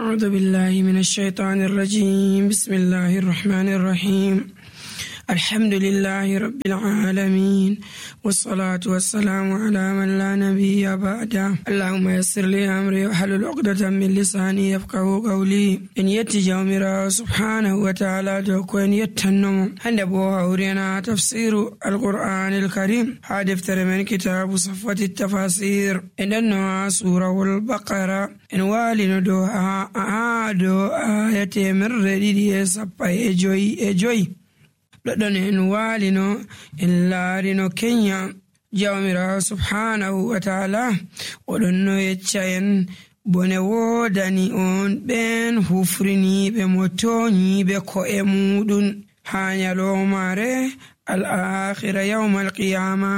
أعوذ بالله من الشيطان الرجيم. بسم الله الرحمن الرحيم. الحمد لله رب العالمين، والصلاة والسلام على من لا نبي بعده. اللهم يسر لي أمري واحلل عقدة من لساني يفقه قولي. إن يتجاومر سبحانه وتعالى دوكو إن يتنمو عند بوها ورينا تفسير القرآن الكريم. هذا افتر من كتاب صفة التفاسير إننا سورة البقرة إن والي دوها آية من رديد سبا إجوي ɗon en waalino en laarino kenya jawmirawo subhanahu wa ta'ala oɗon no yecca en bone woodani on ɓen hufriniɓe mo toñiɓe ko'e muɗum ha nyalomare al-akhira yawma al-qiyama.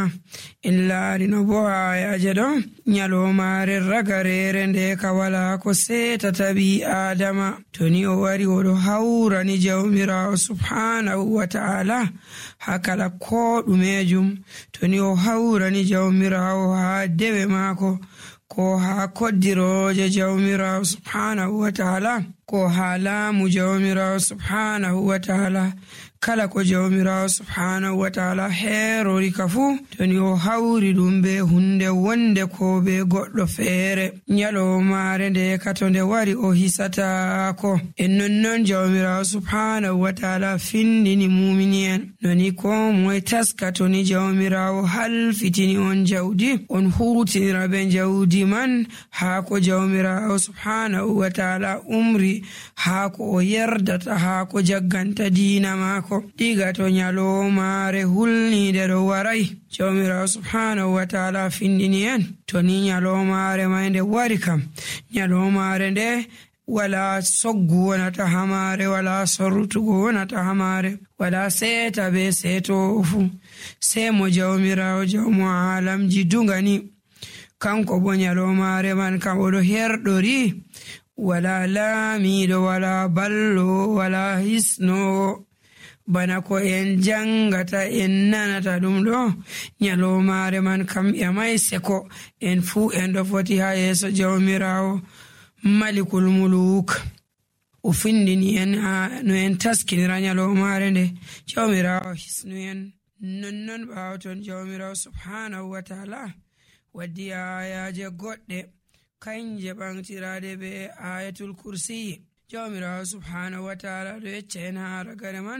en laarino bo ayaje ɗo nyalomare ragarere nde ka wala ko setata ɓi adama to ni o wari oɗo hawrani jawmirawo subhanahu wa ta'ala ha kala ko ɗumejum. to ni o hawrani jawmirawo ha dewe maako, ko ha koddiroje jawmirawo subhanahu wa ta'ala, ko ha laamu jawmirawo subhanahu wa ta'ala. kala ko jawmirawo subhanahu wa ta'ala heerori ka fu to ni o hawri ɗum be hunde wonde ko be goɗɗo feere, nyalomare nde ka to nde wari o hisatako. en nonnon jawmirawo subhanahu wa ta'ala findini mumini en noni ko moye taska to ni jawmirawo halfitini on jawdi on hutinira be jawdi man ha ko jawmirawo subhanahu wa ta'ala umri, ha ko o yerdata, ha ko jagganta diina mako. diga to nyalomare hulnide ɗo warai jawmirawo subhanahu wa ta'ala findini en to ni nyalomare mai nde wari kam, nyalomare nde wala soggu wonata hamare, wala sorrutugo wonata hamare, wala seta be seto fu, sai mo jawmirawo jawmo alamji dungani kanko bo nyalomare man kam oɗo herɗori, wala laamiɗo, wala ballo, wala hisno bana ko en jangata en nanata ɗum ɗo. nyalomare man kam ƴamai seko en fu en ɗo foti ha yeso jawmirawo malikul muluk. o findini en no en taskinira nyalomare nde jawmirawo hisnu en. nonnon ɓawo ton jawmirawo subhanahu wa ta'ala waddi ayaje goɗɗe kanje ɓantirade be ayatul kursiyi. jawmirawo subhanahu wa ta'ala ɗo yecca en ha ragare man